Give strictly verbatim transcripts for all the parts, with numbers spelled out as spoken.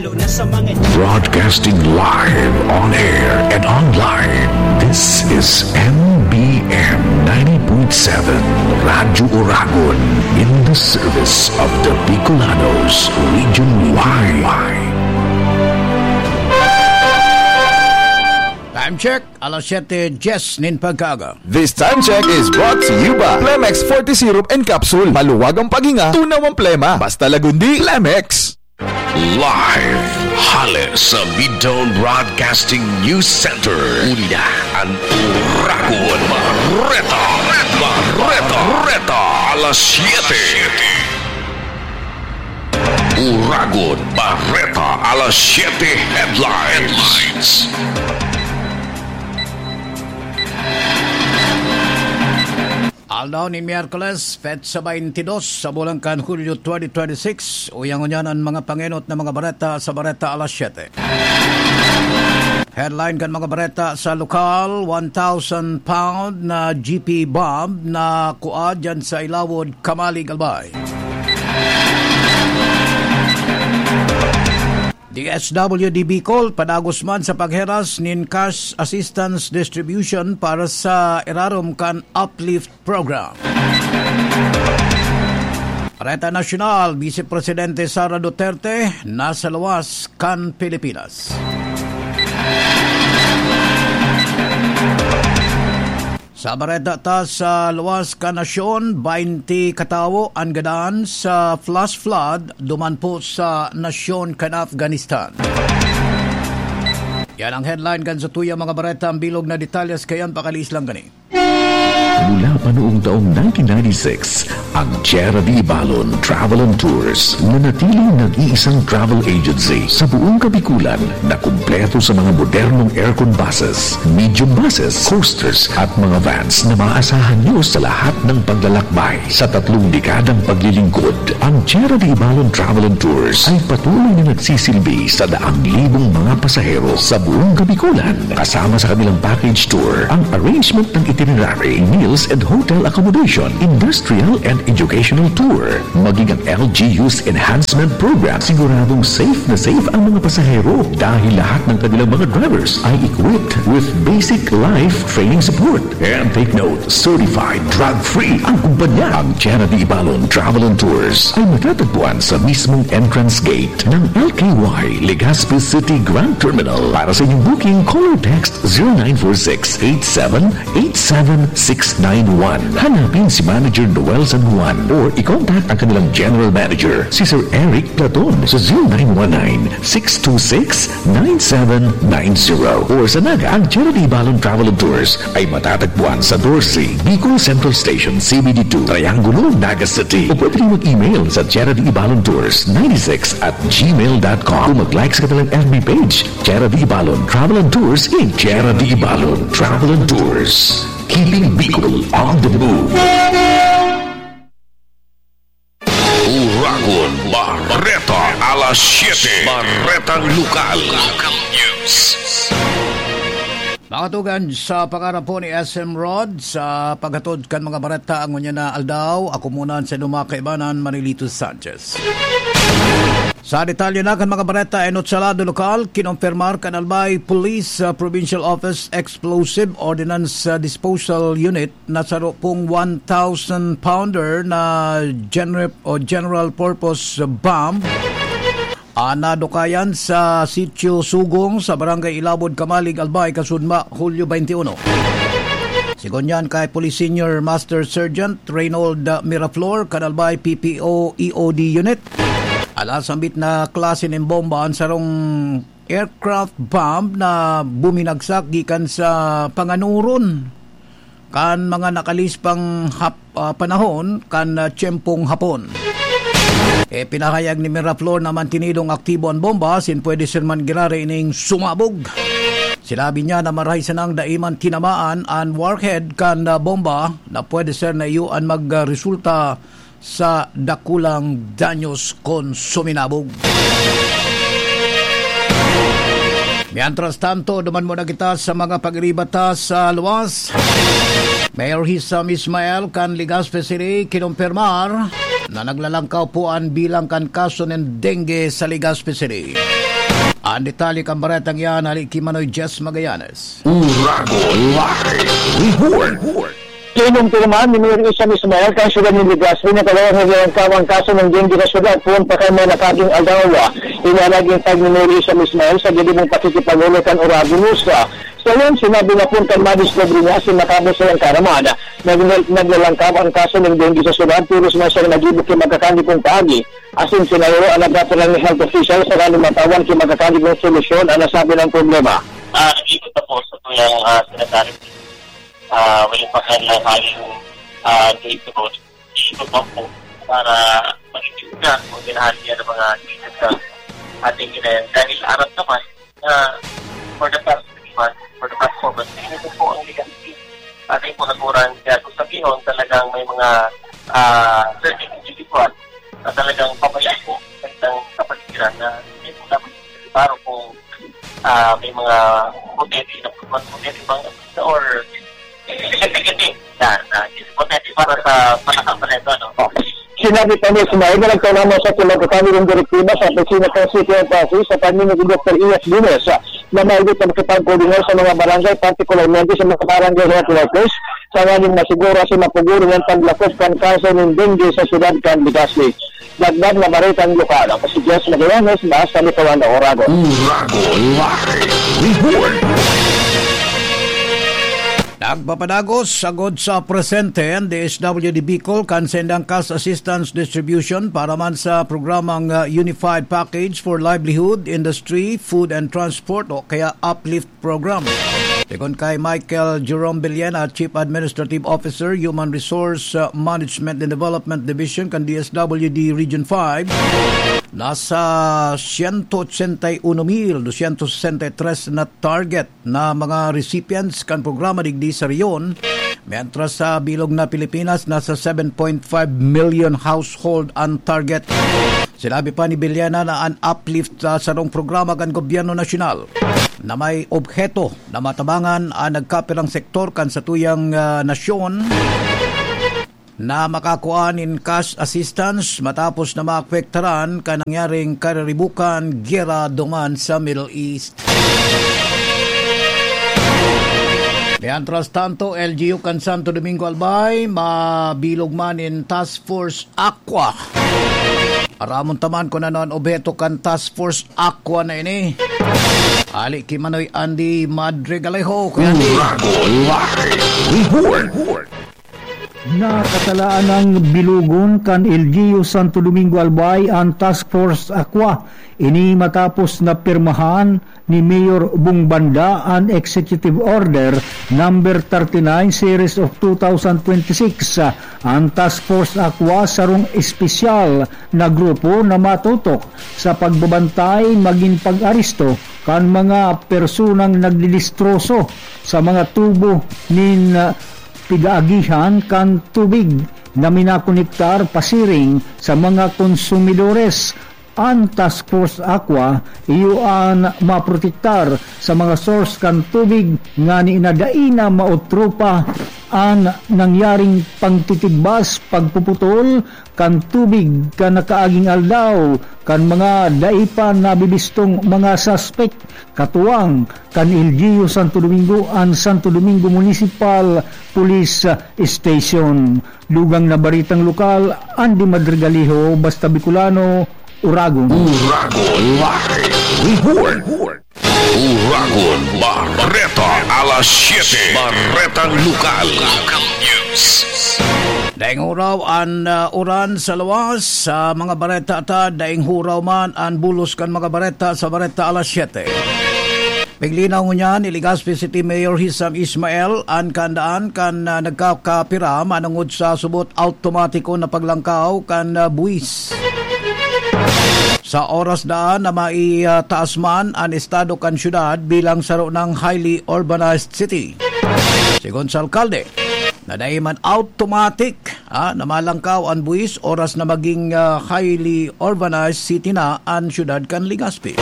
Broadcasting live, on air and online. This is M B M ninety point seven Radyo Oragon, in the service of the Bicolanos region wide. Time check, alas siyete dies nin pagkaaga. This time check is brought to you by Plemex forty Syrup and Capsule. Maluwag ang paghinga, tunaw ang plema. Basta Lagundi, Plemex. Live hale sa Midtown Broadcasting News Center. Uli na an Oragon Bareta. Bareta. Bareta. Alas siyete. Oragon Bareta, alas siyete headlines. Aldaw nin Miyerkules, petsa twenty-two sa bulan kan Hulyo twenty twenty-six. Uya ngunyan an mga pangenot na mga bareta sa Bareta Alas Siyete. Headline kan mga bareta sa lokal: one thousand pound na G P bomb na kua dyan sa Ilawod, Camalig, Albay. D S W D Bicol, padagos man sa pagheras nin cash assistance distribution para sa irarom kan Uplift Program. Bareta Nasyonal, Vice Presidente Sara Duterte nasa luwas kan Pilipinas. Sa bareta ta sa luwas kan nasyon, baynte katawo an gadan sa flash flood duman po sa nasyon kan Afghanistan. Yan ang headline kan satuyang mga bareta. Ang bilog na detalye sa kayan, pakaliis lang kani. Mula pa noong taong nineteen ninety-six, ang Tierra de Ibalon Travel and Tours nanatiling nag-iisang travel agency sa buong Kabikulan na kumpleto sa mga modernong aircon buses, medium buses, coasters at mga vans na maaasahan nyo sa lahat ng paglalakbay. Sa tatlong dekadang paglilingkod, ang Tierra de Ibalon Travel and Tours ay patuloy na nagsisilbi sa daang libong mga pasahero sa buong Kabikulan, kasama sa kanilang package tour, ang arrangement ng itinerary, meals and hotel accommodation, industrial and educational tour, maging ang L G U's enhancement program. Siguradong safe na safe ang mga pasahero dahil lahat ng kanilang mga drivers ay equipped with basic life training support. And take note, certified drug-free ang kumpanya. Ang Tierra de Ibalon Travel and Tours ay matatagpuan sa mismong entrance gate ng L K Y Legazpi City Grand Terminal. Para sa inyong booking, call or text zero nine four six eight seven eight seven six nine one. Hanapin si Manager Noel San Juan or i-contact ang kanilang General Manager, si Sir Eric Platon, sa zero nine one nine six two six nine seven nine zero. Or sa Naga, ang Tierra de Ibalon Travel and Tours ay matatagpuan sa Dorsey, Bicol Central Station, C B D two, Triangulo, Naga City. O pwede rin mag-email sa Tierra de Ibalon Tours ninety-six at gmail dot com. O mag-like sa kanilang F B page, Tierra de Ibalon Travel and Tours in Tierra de Ibalon Travel and Tours. Keeping Bicol on the move. Oragon Bareta, alas siyete. Baretang Lokal. Local News. Mga tugang, sa pangarap po ni S M Rod, sa paghatod kan mga bareta ngunyan na aldaw, ako muna sa inyo mga kaibanan, Marilito Sanchez. Sa detalye na kan mga bareta, enot sa lado lokal, kinompirmar kan Albay Police, uh, Provincial Office Explosive Ordnance, uh, Disposal Unit na saro pong one thousand pounder na gener-, o general purpose bomb, ah, nadukayan sa Sitio Sugong sa Barangay Ilabod, Camalig, Albay, kasudma, Hulyo twenty-one. Sigon yan kay Police Senior Master Sergeant Reynold Miraflor, kan Albay P P O E O D Unit. Ala, sambit na klase nin bomba an sarong aircraft bomb na buminagsak gikan sa panganuron kan mga nakalispang hap-, ah, panahon kan, ah, tiyempong Hapon. E, pinahayag ni Miraflor na mantinidong aktibo an bomba, sin pwede ser man girare ining sumabog. Sinabi niya na marahay sanang dai man tinamaan an warhead kan, ah, bomba na pwede ser na iyo an magresulta sa dakulang danyos kon suminabog. Mientras tanto, duman muna kita sa mga pag-iriba ta sa luwas. Mayor Hisam Ismael kan Legazpi City kinompirmar na naglalangkaw po an bilang kan kaso nin dengue sa Legazpi City. An detalye kan baretang iyan hali ki Manoy Jess Magallanes. Uragon Live Report. Kinumpirma ni Mayor Isam Ismail kan siyudad nin Legazpi na talagang naglalangkaw an kaso nin dengue sa siyudad poon pa kan mga nakaging aldaw. Inalagintag ni Mayor Isam Ismail sa ginibo nin pakikipag-uloy kan Uragon News. Sa iyan, sinabi na poon kan madiskubre niya asin matapos sa iyang kaaraman, nag-, naglalangkaw an kaso nin dengue sa siyudad, tolos man siyang naggibo ki magkakan ni pong paagi. Asin sinayro an nagkapirang health official sa kaning matawan ki magkakan ni pong solusyon an nasabi nang problema. Ah, nag-ikot na po sa tuyang, ah, sanitary. Ah, wala pa ka na kaling, ah, dito po. Ikot pa po para mag-imbestiga kung ginahan niya ng mga ikot sa ating kinayan. Dahil aram naman na for the past three months, for the past four months, ito po ang legacy. Ating po nagurang kaya kung sabihin talagang may mga, ah, certain individual na talagang pabayaan po ng kapaligiran na hindi po dapat klaro kung, ah, may mga botete na, mga botete bang or hindi na, na botete para sa panakapalento, ano? Sinabi pa ni Ismail na nagtaon naman sa pinagkakami ng direktiba sa opisina ng City of Pasig sa pamimili ni Doktor Elias Gomez na maigit na makipagkoordinar sa mga barangay, partikularmente sa mga barangay health workers, sa nganing masiguro si mapugulong ang paglakop kan kaso nin dengue sa siyudad kan Legazpi. Dagdag na baretang lokal, ako si Jess Magallanes, basta may kawan na oragon. Uragon Live Report. Nagpapadagos sagod sa presente an D S W D Bicol kan sendang cash assistance distribution para man sa programang, uh, Unified Package for Livelihood, Industry, Food and Transport o kaya UPLIFT Program. Sigon kay Michael Jerome Villena, Chief Administrative Officer, Human Resource, uh, Management and Development Division kan D S W D Region five, nasa siyento otsenta y uno mil dosyentos sesenta y tres na target na mga recipients kan programa digdi sa rehiyon, mientras sa bilog na Pilipinas, nasa seven point five million household an target. Sinabi pa ni Villena na an UPLIFT, ah, sarong programa kan gobyerno nasyonal na may obheto na matabangan an nagkapirang sektor kan satuyang, ah, nasyon na makakua nin cash assistance matapos na maapektaran kan nangyaring kariribukan, giyera duman sa Middle East. Mientras tanto, L G U kan Santo Domingo Albay, mabilog man in Task Force Aqua. Aramon ta man kun ano an obheto kan Task Force Aqua na ini. Hali ki Manoy Andy Madrigalejo, Kuya Andy. Uragon Live Report. Nakatalaan nang bilogon kan L G U Santo Domingo Albay an Task Force Aqua. Ini matapos na pirmahan ni Mayor Bong Banda an Executive Order Number thirty-nine Series of two thousand twenty-six. An Task Force Aqua sarong espesyal na grupo na matutok sa pagbabantay magin pag-aresto kan mga personang nagdidistroso sa mga tubo nin, ah, pigaagihan kan tubig na minakonektar pasiring sa mga konsumidores. An Task Force Aqua iyo an maprotektar sa mga source kan tubig ngani na dai na maotropa an nangyaring pagtitigbas, pagpuputol kan tubig kan nakaaging aldaw kan mga dai pa nabibistong mga suspek. Katuwang kan L G U Santo Domingo an Santo Domingo Municipal Police Station. Dugang na baritang lokal, Andy Madrigaliho, Basta Bicolano, Uragon. Uragon Live Report. Uragon Bareta, alas siyete. Baretang Lokal. Local News. Daing huraw an, ah, uran sa luwas. Sa mga bareta ta, daing huraw man an bulos kan mga bareta sa Bareta alas siyete. Piglinaw ngunyan ni Legazpi City Mayor Hisam Ismael an kaandaan kan, ah, nagkakapira manongod sa subot awtomatiko na paglangkaw kan, ah, buwis. Sa oras daan na mai, ah, taas man an estado kan syudad bilang saro nang highly urbanized city. Sigon sa alkalde, na dai man automatic, ah, na malangkaw an buwis oras na maging, ah, highly urbanized city na an syudad kan Legazpi.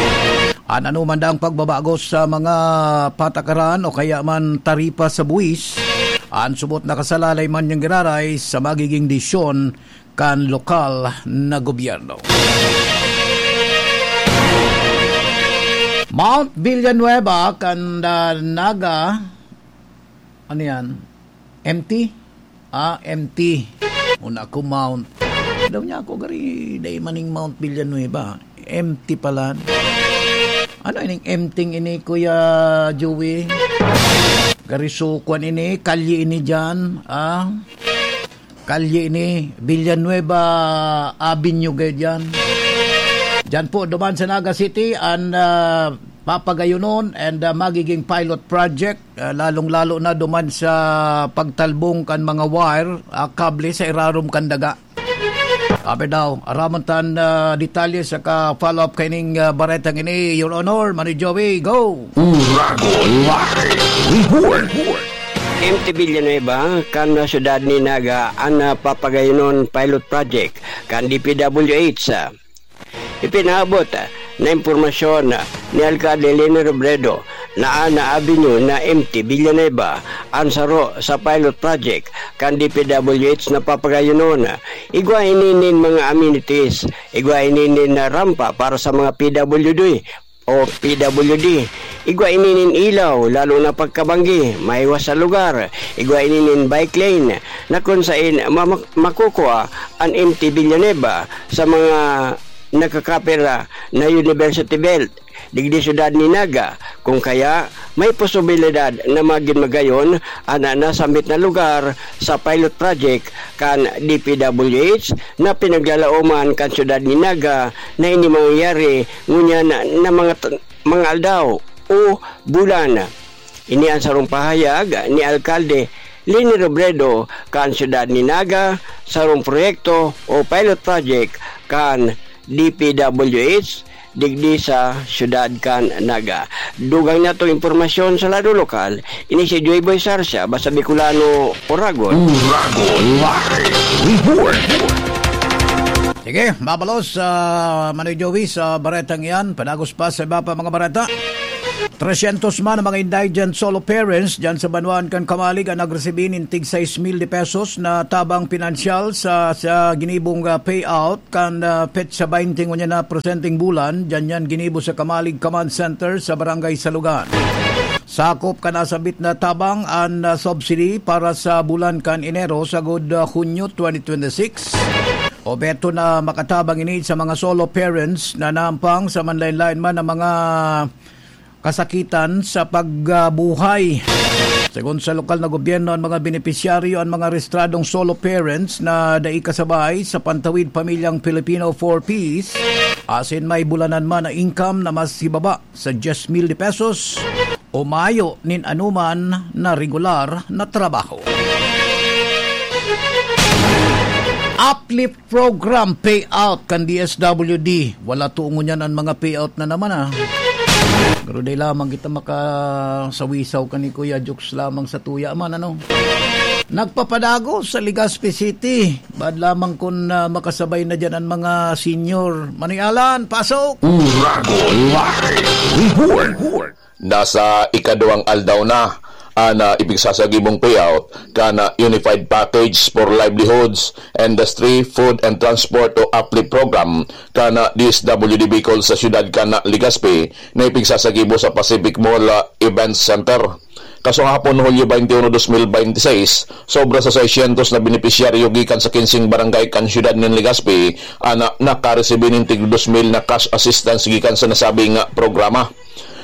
An anoman daang pagbabago sa mga patakaran o kaya man taripa sa buwis, an subot nakasalalay man niyang giraray sa magiging desisyon kan lokal na gobyerno. Mount Villanueva kan, ah, Naga. Ano yan? Empty? Ah, empty. Una ko, Mount. Daw niya ako, gari, dai maning Mount Villanueva. Empty pala. Ano ining empty ini, Kuya Joey? Gari sukwan ini, kalye ini dyan. Ah, kalye ini, Villanueva Avenue, gaya dyan. Dyan po, duman sa Naga City, an, ah, papagayonon and, ah, magiging pilot project, ah, lalong-lalo na duman sa pagtalbong kan mga wire, ah, kable sa irarom kan daga. Sabi daw, aramon tan, ah, detalye saka follow-up kaining, ah, baretang ini, Your Honor, Manoy Joey, go! Uragon Live Report. Empty Villanueva, kan syudad ni Naga, an, ah, papagayonon pilot project kan D P W H. Ipinaabot na impormasyon ni Alcalde Leni Robredo na an Avenue na empty Villanueva an saro sa pilot project kan D P W H na papagayonon. Igwa ini nin mga amenities, igwa ini nin rampa para sa mga P W D o P W D. Igwa ini nin ilaw, lalo na pagkabanggi, maiwas sa lugar. Igwa ini nin bike lane na kun sain ma-, ma-, makukua an empty Villanueva sa mga nagkakapira na University Belt digdi syudad ni Naga. Kung kaya, may posibilidad na magin magayon an nasambit na lugar sa pilot project kan D P W H na pinaglalaoman kan syudad ni Naga na ini mangyayari ngunyan na mga t-, mga aldaw o bulan. Ini an sarong pahayag ni Alkalde Leni Robredo kan syudad ni Naga, sarong proyekto o pilot project kan D P W H digdi sa syudad kan Naga. Dugang na itong impormasyon sa lado lokal, ini si Joy Boy Sarsia, basta Bicolano, Oragon. Oragon Live Report. Sige, mabalos, ah, Manoy Joey, sa baretang iyan. Padagos pa sa iba pa mga bareta. Tresyentos man ang mga indigent solo parents diyan sa banwaan kan Camalig ang nagresibi nin tig sais mil de pesos na tabang pinansyal sa, sa ginibong, ah, payout kan, ah, petsa baynte ngunyan na presenteng bulan. Diyan yan ginibo sa Camalig Command Center sa Barangay Salugan. Sakop kan nasambit na tabang an, ah, subsidy para sa bulan kan Enero sagod, ah, Hunyo twenty twenty-six. Obheto na makatabang ini sa mga solo parents na naampang sa manlaen-laen man na mga kasakitan sa pagbuhay. Segun sa lokal na gobyerno, an mga benepisyaryo an mga rehistradong solo parents na dai kasabay sa Pantawid Pamilyang Pilipino, four Ps, asin may bulanan man na income na mas hibaba sa dyes mil de pesos o mayo nin anuman na regular na trabaho. Uplift Program payout kan D S W D. Wala to ngunyan an mga payout na naman, ah. Pero dai lamang kita makasawisaw kan ni Kuya, jokes lamang sa tuya man, ano. Nagpapadagos sa Legazpi City. Bad lamang kun, ah, makasabay na diyan an mga senior. Manoy Alan, pasok! Uragon Live Report. Nasa ikaduwang aldaw na an, ah, ipigsasagibong payout kan, ah, Unified Package for Livelihoods, Industry, Food and Transport o uplift Program kan, ah, D S W D Bicol sa siyudad kan, ah, Legazpi na ipigsasagibo sa Pacific Mall, ah, Event Center. Kasong hapon, Hulyo twenty-one, twenty twenty-six, sobra sa seiscientos na benepisyaryo gikan sa kinsing barangay kan siyudad nin Legazpi an, ah, nakaresibi nin tig dos mil na cash assistance gikan sa nasabing, ah, programa.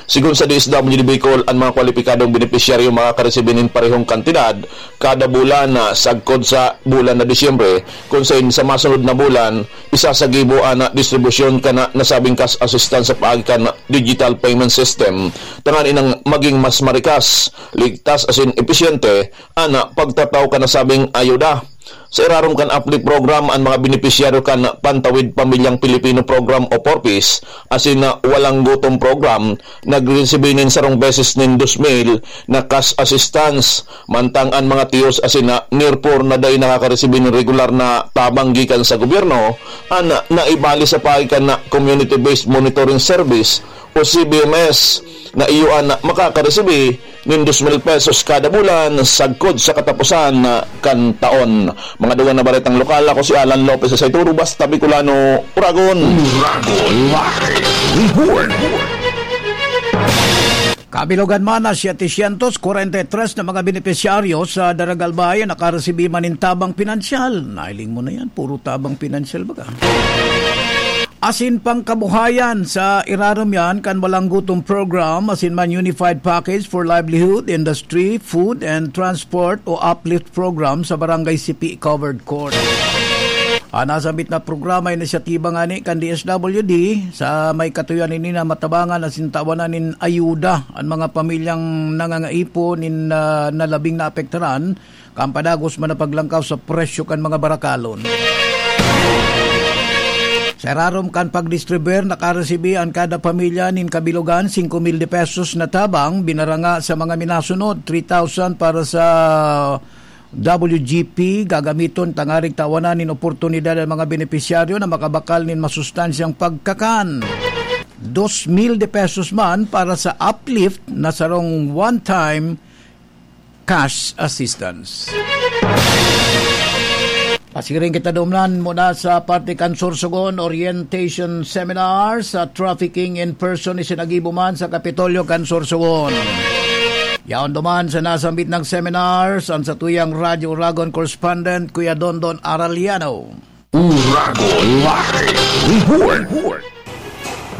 Sigon sa D S W D Bicol, an mga kwalipikadong benepisyaryo makakaresibi nin parehong kantidad kada bulan na sagkod sa bulan na Disyembre, kun sain sa masunod na bulan, isasagibo an distribusyon kan nasabing cash assistance sa paagi kan digital payment system, tanganing maging mas marikas, ligtas asin episyente an pagtataw kan nasabing ayuda. Sa irarom kan uplift program, an mga benepisyaryo kan Pantawid Pamilyang Pilipino Program o four Ps asin na Walang Gutom Program nagresibi nin sarong beses nin dos mil na cash assistance, mantang an mga tiyos asin na near poor na dai nakakaresibi nin regular na tabang gikan sa gobyerno, an naibali sa paagi kan Community-Based Monitoring Service o C B M S na iyo an makakaresibi nin dos mil pesos kada bulan sagkod sa kataposan kan taon. Mga dugang na baretang lokal, ako si Alan Lopez sa Saituro, basta Bicolano, Uragon. Uragon Live Report. Kabilogan man na setecientos kwarenta y tres na mga benepisyaryo sa Daragalbay ang nakaresibi man nin tabang pinansyal. Nailing mo na yan, puro tabang pinansyal baga. Asin pangkabuhayan sa irarom yan kan Walang Gutom Program, asin man Unified Package for Livelihood, Industry, Food and Transport o UPLIFT Program sa Barangay Sipi Covered Court. Ang nasambit na programa, inisyatiba ngani kan D S W D sa may katuyan ini na matabangan asin tawanan nin ayuda an mga pamilyang nangangaipo nin, ah, nalabing naapektaran kan padagos man na paglangkaw sa presyo kan mga barakalon. Sa irarom kan pagdistribuir, nakaresibi an kada pamilya nin kabilogan singko mil de pesos na tabang, binaranga sa mga minasunod, three thousand para sa W G P gagamiton tangaring tawanan nin oportunidad an mga benepisyaryo na makabakal nin masustansyang pagkakan. Dos mil de pesos man para sa UPLIFT na sarong one-time cash assistance. Pasiring kita dumnan muna sa parte kan Sorsogon, orientation seminar sa trafficking in person isinagibo man sa Kapitolyo kan Sorsogon. Yaon duman sa nasambit na seminars, an satuyang Radyo Uragon correspondent, Kuya Dondon Araliano. Uragon Live Report.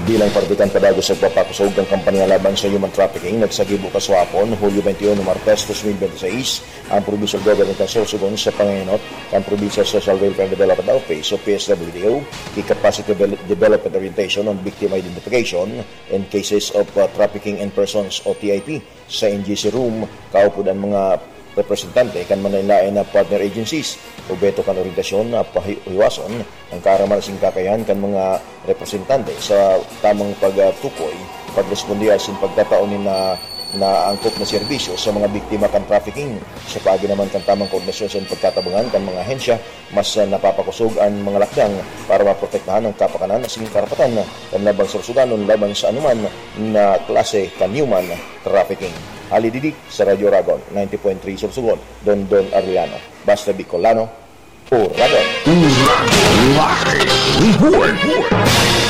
Bilang parte kan padagos sa pagpapakusog kan kampanya laban sa human trafficking, nagsagibo kasuapon, Hulyo twenty-one, Martes, twenty twenty-six, ang Provincial Government kan Sorsogon sa pangenot kan Provincial Social Welfare and Development Office o P S W D O, ki Capacity Devel-, Development Orientation on Victim Identification and Cases of, uh, Trafficking in Persons o T I P. Sa N G C Room, kaupod an mga representante kan manlaen-laen na partner agencies. Obheto kan oryentasyon na pahiwason an kaaraman asin kakayahan kan mga representante sa tamang pagtukoy, pagresponde asin pagtatao nin na, naangkop na serbisyo sa mga biktima kan trafficking. Sa paagi naman kan tamang koordinasyon sa pagtatabangan kan mga ahensya, mas, ah, napapakusog an mga lakdang para maprotektahan ang kapakanan asin karapatan kan labang Sorsoganon laban sa anuman na klase kan human trafficking. Hali digdi sa Radyo Uragon, ninety point three Sorsogon, Dondon Arellano. Basta Bicolano, Uragon. Uragon Live Report.